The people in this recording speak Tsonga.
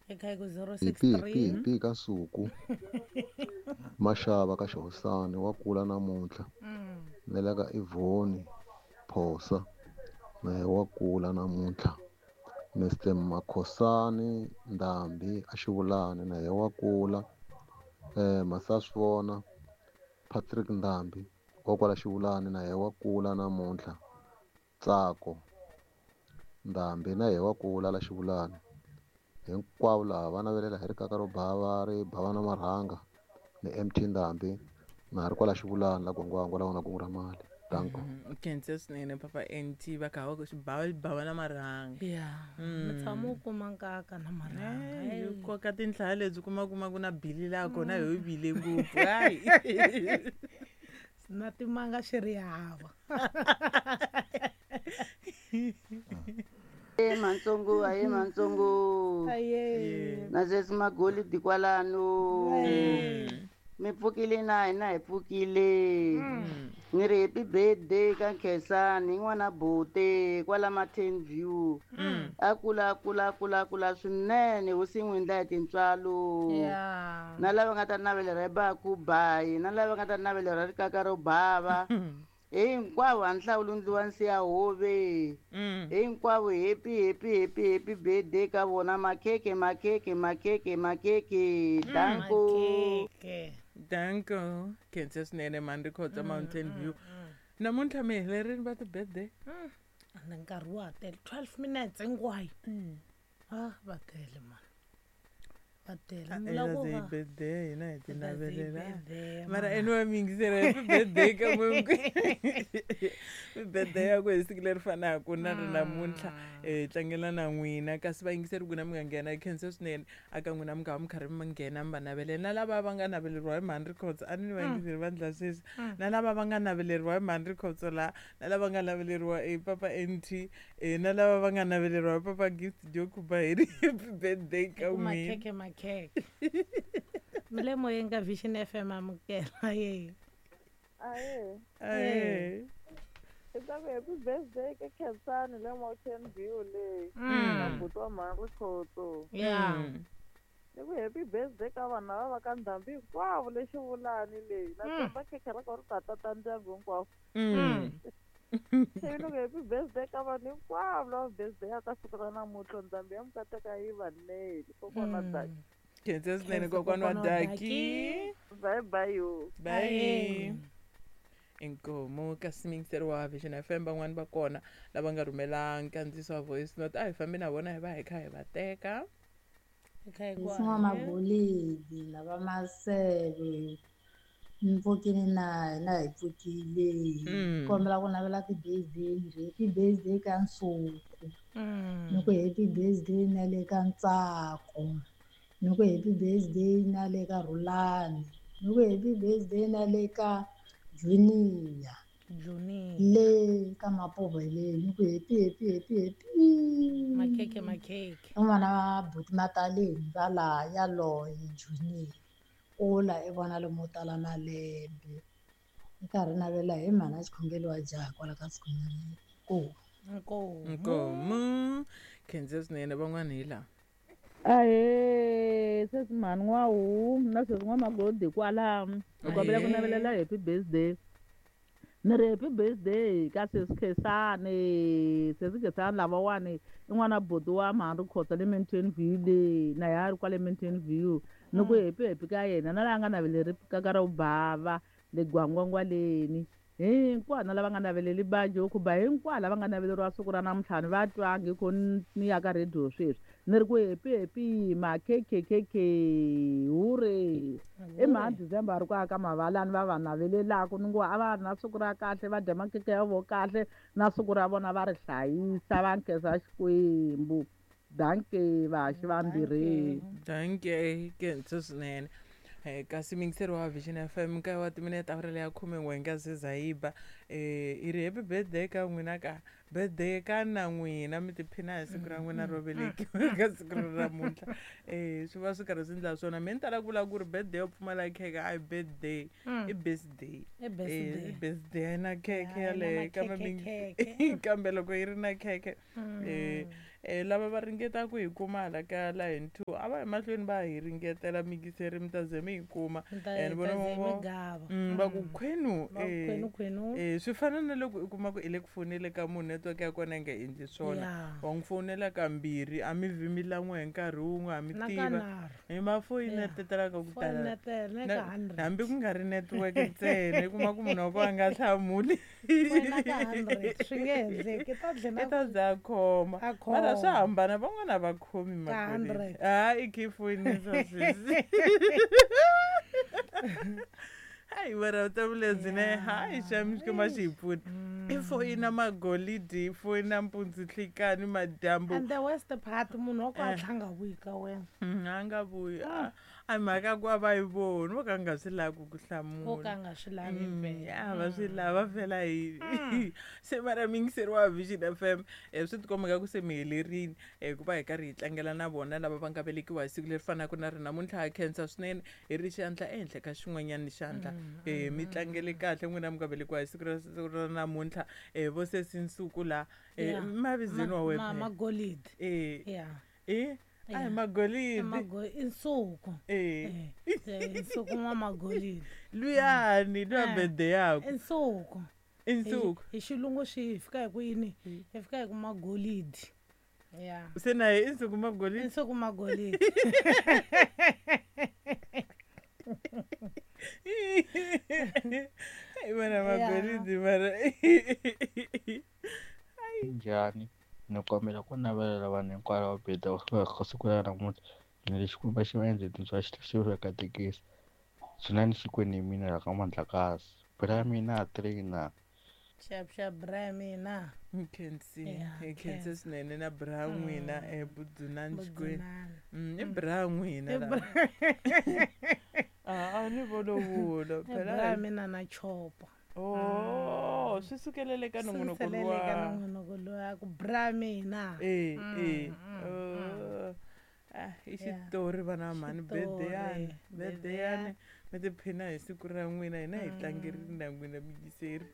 Eka hi ku Happy happy 063 happy ka Nsuku Mashava ka Xihosani wa kula namuntlha na le ka Ivoni Phosa na ye wa kula namuntlha Mr Makhosani Ndhambi a Xivulani na ye wa kula Masaswivona Patrick Ndhambi wa kwala Xivulani na ye wa kula namuntlha Ntsako Ndhambi na ye wa kula la Xivulani hinkwavo laha va navelela hi rikaka ro bava ri bava na marhanga ni MT Ndhambi na ha ri kwala Xivulani la Gwangwangwa la wona kungu ra mali danko. Khensa swinene papa nt va kha va ku xibava bava na marhanga. Ya mi tshama u kuma nkaka na marhanga. Hi koka tinhlaya lebyi kuma kuma ku na bili laha kona hi bile ngopfu hayi. Na timanga xi ri hava. E mantsongo aye mantsongo. Aye. Na sweswi magolidi kwalano. Mi pfukile na hina hi pfukile. Ni ri happy birthday ka Nkhensani n'wana Bote kwala Mountain View. A kula kula kula kula swinene hosi n'wi endla hi tintswalo. Na lava nga ta navelela hi baku bayi na lava nga ta navelela rikaka ro bava. Hinkwavo a ni hlawuli ndliwa nsiya hove. Hinkwavo happy happy happy happy birthday ka vona makhekhe makhekhe makhekhe makhekhe. Danko. Danko. Khensa swinene mani ri khotsa Mountain View. Namuntlha mi helerini va ti-birthday? Ande nkarhi wa ha tele 12 minutes hinkwayo. Ah va tele mani. Va tele. Mi vula ku va birthday hina hi ti navelela. Birthday, Mara mama. anyway mi yingisela happy birthday ka n'wina. Birthday ya ku hi siku leri fanaka na ri namuntlha hi tlangela na n'wina kasi vayingiseri ku na mi nga nghena khensa swinene aka n'wina mi nga va mi karhi mi nghena mi va navelela na lava va nga naveleriwa hi mhani Rikhotso a ni vayingiseri va ndla sweswi na lava va nga naveleriwa hi mhani Rikhotso la na lava nga naveleriwa hi papa NT na lava va nga naveleriwa hi papa Gift Jokuba hi ri happy birthday ka Ku n'wina. makhekhe makhekhe. Mi le moyeni ka Vision FM amukela ye. Aye. Aye. I ta ku happy birthday ka Khensani le Mountain View le. Na buti wa mhani Rikhotso. Ni ku happy birthday ka vanhu lava va ka Ndhambi hinkwavo le Xivulani leyi. Na tshemba khekhe ra kona ri ta tata ndyangu hinkwawo. Se ni ku happy birthday ka vanhu hinkwavo lava birthday ya ka siku ra namuntlha Ndhambi ya mukateka yi va nele. Kokwana Daki. Khensa swinene kokwana wa Daki. Bye bye yo. Bye. Inkomu kasi miyingiseri wa Vision FM van'wani va kona lava nga rhumela nkandziyiso wa voice note a hi fambi na vona hi va hi kha hi va teka. N'wamagolidi lava maseve mi pfukile na hina hi pfukile. Kombela ku navela ti-birthday ni ri happy birthday ka Nsuku. Ni ku happy birthday na le ka Ntsako. Ni ku happy birthday na le ka Rhulani. Ni ku happy birthday na le ka Junior. Junior. Le ka Mapovheleni ni ku happy happy happy happy. Makhekhe makhekhe. Un'wana wa buti Mataleni va laha yaloye Junior. Kula i vona lomo tala malembe. Ni karhi navela hi mhana xikhongelo wa jaha kwala ka Sikhonyana. Inkomu. Nkomu. Khensa swinene van'wana hi laha. Ahee, sweswi mhani n'wahu na sweswi n'wamagodi kwala hi kombela ku navelela happy birthday. Ni ri happy birthday ka sesi Khensani, sesi Khensani lavawani i n'wana buti wa mhani Rikhotso le Mountain View le na yena a ri kwale Mountain View. Ni ku happy happy ka yena na laha nga naveleri kaka ro bava le Gwangwangwaleni. Hinkwavo na lava nga naveleli baji khuba hinkwavo lava nga naveleriwa siku ra namuntlha ni va twangi ku ni ya ka radio sweswi. Ni ri ku happy happy makhekhe khekhe hure. I mhani December a ri ku aka mavalani va va navelelaka ni ngo a va ri na siku ra kahle va dya makhekhe ya vo kahle na siku ra vona va ri hlayisa va nkhensa Xikwembu. Danke vaxi vambirhi. Danke khensa swinene. Kasi miyingiseri wa Vision FM nkarhi wa timinete awara leya 11 nga se za yi ba. I ri happy birthday ka n'wina ka birthday ka na n'wina mi tiphina hi siku ra n'wina ro velekiwa ka siku ra namuntlha. Swi va swi karhi swi endla swona. Mina ni tala ku vula ku ri birthday yo pfumala khekhe a hi birthday i birthday. I birthday. I birthday a yi na khekhe A yi na yaleyo kambe makhekhe, kambe loko yi ri na khekhe Lava va ringetaka hi kuma hala ka line 2 a va yi mahlweni va hi ringetela mikiseri mi ta ze mi yi kuma. And vona va ku khwenu, Va ku khwenu, khwenu. Swi fana na loko u kuma ku i le ku fonele ka munhu network ya kona yi nga endli swona. Wa n'wi fonela kambirhi a mi vi mi lan'we hi nkarhi wun'we a mi Na tiva. kanharhu. Hi mafoyini Yeah. tetelaka ku tala. Foyinetela na ka 100. Hambi ku nga ri network ntsena i kuma ku munhu wa kona a nga hlamuli. Foyina ka 100 swi nge endleki i ta dlina I ta za a khoma. A Mara swa khoma. hambana van'wana a va khomi Ka makweleti. 100. A i khe foyinisa sweswi. Hayi mara vutomi lebyi ne hayi xami Xikwembu a xi hi pfuni. I foyina magolidi, i foyina mpundzu, nhlikani, madyambu. And the worst part munhu wa ku a tlha nga vuyi ka wena. A nga vuyi. A mhaka ya ku a va yi voni vo ka nga swi lavi ku ku Vo ka hlamula. nga swi lavi vhele. A va swi lava vhela hi se mara muyingiseri wa Vision FM swi tikomba nga ku se mi helerile ku va hi karhi hi tlangela na vona lava va nga velekiwa hi siku leri fanaka na ri namuntlha. Ha khensa swinene hi ri xandla ehenhla ka xin'wanyana xandla. Mi tlangele kahle n'wina mi nga velekiwa hi siku ra namuntlha. Vo sesi Nsuku la mavizweni wa wena phela. Magolidi. A hi magolidi. I Nsuku. Nsuku n'wa magolidi. Luyani, luya birthday yakwe. I Nsuku. I Nsuku. Hi xilungu swi hi fika hi ku yini? Hi fika hi ku magolidi. Yeah. Se na ye i Nsuku magolidi. I Nsuku magolidi. Hayi wena magolidi mara. Njhani? Ni kombela ku navelela vanhu hinkwavo va birthday ka siku ra namuntlha. Ni ri Xikwembu xi va endle tintswalo xi tlhela xi va katekisa. Dzunani Xikwembu hi mina laha ka Mandlakazi. Bra mina trainer. Xap xap bra mina. Nkhensi, Yeah, hi khense khensa. swinene na bra n'wina Budzunani Xikwembu. Budzunani. I bra n'wina I la. bra. A ni volovulo I phela. bra mina na chopa. Oh, swi sukelele ka nongonoko Sukelele ka luwa. nongonoko luwa ku bra mina. Oh. I xitori vana va mhani, Xitori, birthday-yani, birthday-yani. birthday-yani. Mi tiphina hi siku ra n'wina, hina hi tlangerile na n'wina miyingiseri.